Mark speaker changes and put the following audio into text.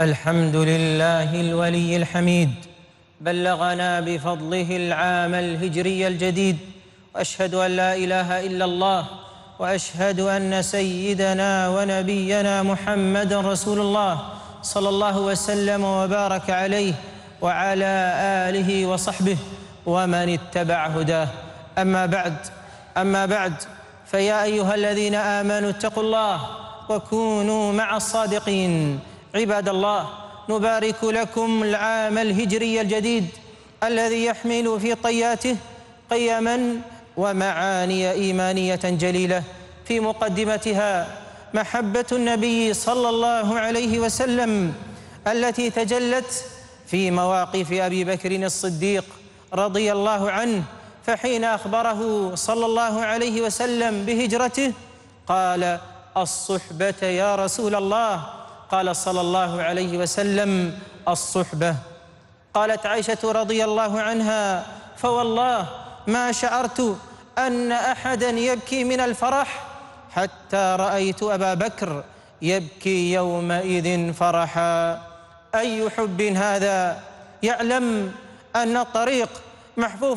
Speaker 1: الحمد لله الولي الحميد، بلغنا بفضله العام الهجري الجديد، وأشهد أن لا إله إلا الله، وأشهد أن سيدنا ونبينا محمد رسول الله صلى الله وسلم وبارك عليه وعلى آله وصحبه ومن اتبع هداه. أما بعد فيا أيها الذين آمنوا اتقوا الله وكونوا مع الصادقين. عباد الله، نبارك لكم العام الهجري الجديد الذي يحمل في طياته قيما ومعاني إيمانية جليلة، في مقدمتها محبة النبي صلى الله عليه وسلم التي تجلت في مواقف أبي بكر الصديق رضي الله عنه، فحين أخبره صلى الله عليه وسلم بهجرته قال: الصحبة يا رسول الله. قال صلى الله عليه وسلم: الصحبة. قالت عائشة رضي الله عنها: فوالله ما شعرت أن أحدا يبكي من الفرح حتى رأيت أبا بكر يبكي يومئذ فرحا. أي حب هذا! يعلم أن الطريق محفوف